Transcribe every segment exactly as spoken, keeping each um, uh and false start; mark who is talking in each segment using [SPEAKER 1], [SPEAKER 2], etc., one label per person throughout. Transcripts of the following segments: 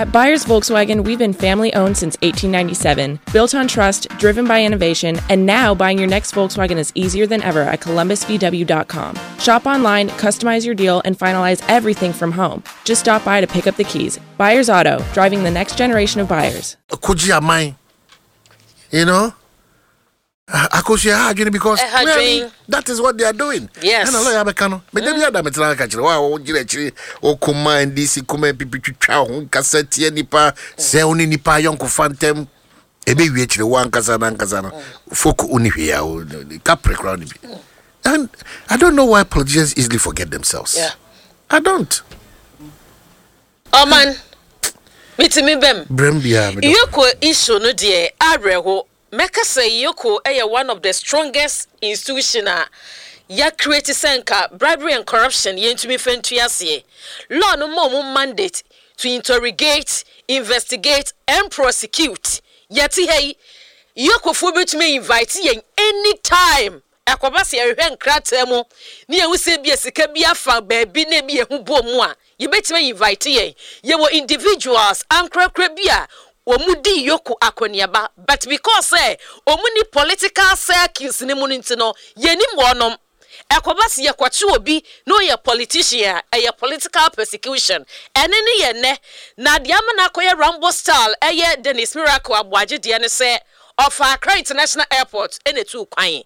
[SPEAKER 1] At Byers Volkswagen, we've been family owned since eighteen ninety-seven, built on trust, driven by innovation, and now buying your next Volkswagen is easier than ever at Columbus V W dot com. Shop online, customize your deal, and finalize everything from home. Just stop by to pick up the keys. Byers Auto, driving the next generation of buyers.
[SPEAKER 2] Kogye aman you know Akosua, ha adwene because
[SPEAKER 3] Ɛha
[SPEAKER 2] really,
[SPEAKER 3] dwen.
[SPEAKER 2] That is what they are doing.
[SPEAKER 3] Yes.
[SPEAKER 2] Ɛna lawyer bɛka no meda bi ada metena ka kyerɛ wo a wogyina akyiri wokoma N D C, koma N P P, twitwa ho nkasa tie nipa sɛ wo ne nipa ayɔnkofa ntɛm ɛbɛwie kyerɛ wo ankasa no ankasa no folk woni hwee a wo- kapre koraa no bi. And I don't know why politicians easily forget themselves.
[SPEAKER 3] Yeah.
[SPEAKER 2] I don't.
[SPEAKER 3] Ɔman mitumi bɛm.
[SPEAKER 2] Brɛm biara medɔ.
[SPEAKER 3] EOCO issue no deɛ, awerɛho. Mɛka sɛ EOCO ɛyɛ one of the strongest institution a yɛacreate sɛ nka bribery and corruption yɛntumi fɛ ntu aseɛ. Law no ma ɔmo mandate to interrogate, investigate and prosecute. Yɛte ha yi, EOCOfoɔ bɛtumi invite yɛn anytime. Ɛkɔba sɛ yɛhwehwɛ nkrataa mu ne yɛhu sɛ bi sika bi afa baabi na ebi yɛho bɔ mu a, yɛbɛtumi invite yɛn. Yɛwɔ individuals ankorakora bi a wɔn di EOCO akɔneaba, but because sɛ wɔn ni political circles ne mu no nti no, yɛnim wɔnom. Ɛkɔba sɛ yɛkɔkye obi na ɔyɛ politician a, ɛyɛ political persecution. Ɛne ne yɛ nnɛ na deɛ ama no akɔyɛ Rambo style. Ɛyɛ Dennis Miracle Aboagye deɛ ne sɛ ɔfa Accra International Airport ɛna etu kwan.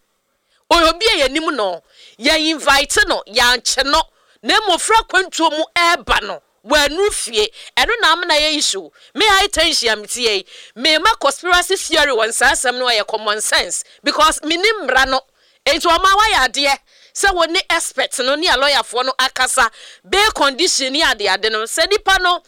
[SPEAKER 3] Ɔyɛ obi a yɛnim no, yɛ invite no, yɛankyɛ no, na mmɔfra kwantuo mu ɛɛba no wɔanu fie. Ɛno na amena yɛ issue. Me high tension a metie yi, mema conspiracy theory wɔ nsaa asɛm no. Ɛyɛ common sense because menim mmara no. Nti ɔma wayɛ adeɛ sɛ wɔne expert no ne a lɔyafoɔ no akasa, bail condition ne adeade no, sɛ nipa no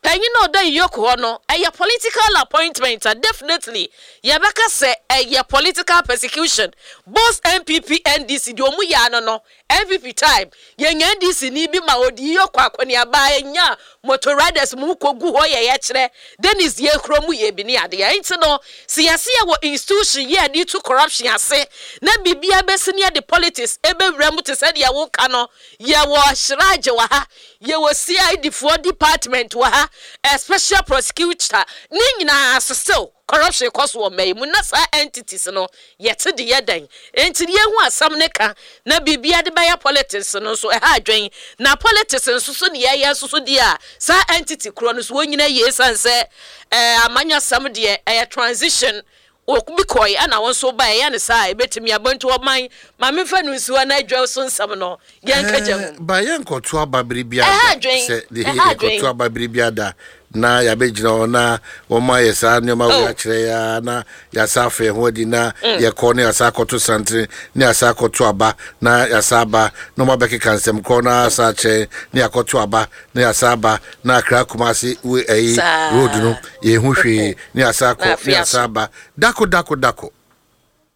[SPEAKER 3] panyin na ɔda EOCO hɔ no ɛyɛ political appointment a, definitely yɛbɛka sɛ ɛyɛ political persecution. Both N P P, N D C deɛ, ɔmu yɛ ano no. N P P time, yɛnya N D C ni bi ma ɔdi EOCO akɔneaba, ɛnya motor riders mu kɔ gu hɔ. Yɛ yɛkyerɛ Dennis yɛ kuro mu yɛ bi ne adeɛ. Nti no sɛ yɛsi yɛ wɔ institution yɛ de to corruption ase na biribia bɛsi ne yɛde politics ɛbɛwura mu te sɛ deɛ woka no. Yɛwɔ CHRAJ wɔ ha, yɛwɔ C I D foɔ department wɔ ha, a special prosecutor ne nyinaa. Still corruption kɔ so wɔ mmaa yi mu na saa entities no yɛte de yɛ dan. Nti yɛhu asɛm ne ka na biribia de bɛyɛ politics no nso ɛha adwen. Na politics nso so ne yɛyɛ nso so deɛ a, saa entity korɔ no so wɔn nyinaa yie san sɛ ɛɛ amanyɔsɛm deɛ, ɛyɛ transition. Obi kɔɛ ɛna wɔn nso ba ɛyɛ ne saa ebetumi abɔntu ɔman maame nfa no nsuo na adwa so nsɛm no yɛn kagya mu.
[SPEAKER 2] Ba yɛn nkɔto aba bere bi
[SPEAKER 3] Ɛha
[SPEAKER 2] ada
[SPEAKER 3] adwen.
[SPEAKER 2] Sɛ de
[SPEAKER 3] Ɛha adwen.
[SPEAKER 2] yɛkɔto aba bere bi ada na yɛabɛgyina hɔ na wɔn ayɛ saa nneɛma
[SPEAKER 3] Oh.
[SPEAKER 2] wei akyerɛ ya na yɛasa afɛ ho adi na yɛkɔ ne yɛasa akɔto santene ne yɛasa akɔto aba na yɛasa aba na wɔn abɛkeka nsɛm korɔ na asa akyerɛ ne yɛakɔto aba na yɛasa aba na Akra Kumase we ɛyi
[SPEAKER 3] Saa.
[SPEAKER 2] road no yɛhu hwee ne yɛasa
[SPEAKER 3] Na
[SPEAKER 2] akɔ ne
[SPEAKER 3] afei
[SPEAKER 2] yɛasa
[SPEAKER 3] aso.
[SPEAKER 2] aba dako dako dako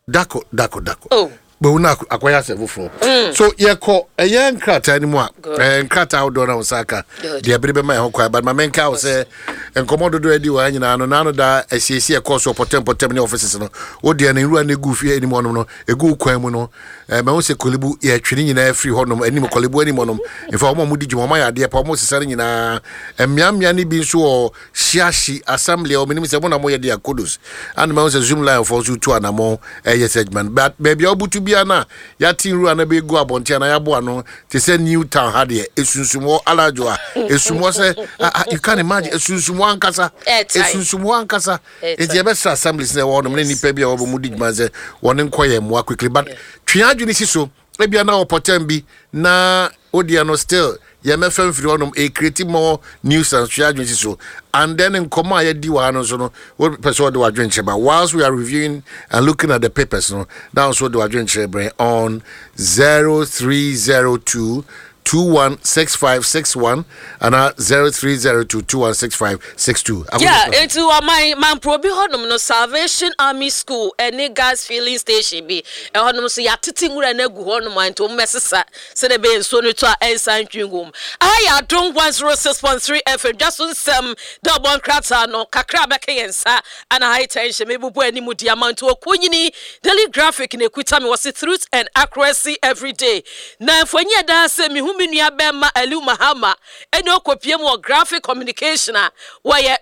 [SPEAKER 2] dako dako dako.
[SPEAKER 3] Oh.
[SPEAKER 2] Gbawu na akɔyɛ asɛ foforɔ so yɛkɔ ɛyɛ nkrataa no mu a
[SPEAKER 3] Good.
[SPEAKER 2] ɛɛ nkrataa ahodoɔ na wo nsa aka
[SPEAKER 3] Good.
[SPEAKER 2] deɛ bere bɛma yɛn ho kwan, but ma menka wo sɛ nkɔmmɔ dodoɔ adi wɔ ha nyinaa no naano da asiesie ɛkɔɔ so pɔtɛm pɔtɛm ne offices no wodeɛ no nwura no ɛgu fie anim hɔnom no ɛgu kwan mu no, ɛɛ mahu sɛ Korle Bu yɛtwe ne nyinaa firi hɔnom anim, Korle Bu anim hɔnom. Mfa wɔn a wɔdi dwuma, wɔn ayɛ adeɛ pa, wɔn sesa no nyinaa. Mmeammea no bi nso wɔ Hyiahyi assembly a wɔn sɛ mo na moyɛ de akodos ana. Mahu sɛ Zoomlion foɔ nso tu anammɔn ɛyɛ sɛ adwuma no. But baabi a wobutu bia no a yɛate nwura no bɛgu abɔnten anaa yɛaboa no te sɛ New Town ha deɛ, ɛsunsum hɔ alaadwo a ɛsum hɔ sɛ ah, ah, you can imagine, ɛsunsum hɔ ankasa.
[SPEAKER 3] Ɛɛtae.
[SPEAKER 2] Ɛsunsum hɔ ankasa.
[SPEAKER 3] Ɛɛtae.
[SPEAKER 2] Nti yɛbɛsrɛ assemblies na ɛwɔ hɔnom ne nnipa bi a wɔbɔ mu di dwuma sɛ wɔne nkɔ yɛ mmoa quickly, but twe adwene si so ebia na ɔpɔtɛm bi na wodeɛ no still yɛmɛfɛ mfiri hɔnom ɛcreate more nuisance. Twe adwene si so and then nkɔmmɔ a yɛdi wɔ ha no nso no, wopɛ sɛ wɔde w'adwenkyerɛ ba whilst we are reviewing and looking at the papers no, na nso wode w'adwenkyerɛ brɛ on zero three zero two two one six five six one ana zero three zero two two one six five six two.
[SPEAKER 3] Yeah, nti ɔman mampro bi hɔnom no, Salvation Army School ɛne gas filling station bi ɛhɔnom so, yɛatete nwura no agu hɔnom a nti wɔn mɛsesa sɛdeɛ ɛbɛyɛ nsuo no tɔ a ɛnsa ntwi ngum. Aha yɛ Adom one oh six point three F M dwa so nsɛm da ɔbɔ nkrataa no kakra bɛka yɛn nsa ana high tension mebubu anim di ama. Nti ɔkɔ Daily Graphic na ekuta mi wɔ se "Truth and accuracy every day" na mfonyin ɛda sɛ mihu mi nua bɛrima Aliu Mahama ɛne ɔkɔpie mu wɔ Graphic Communication a wɔyɛ.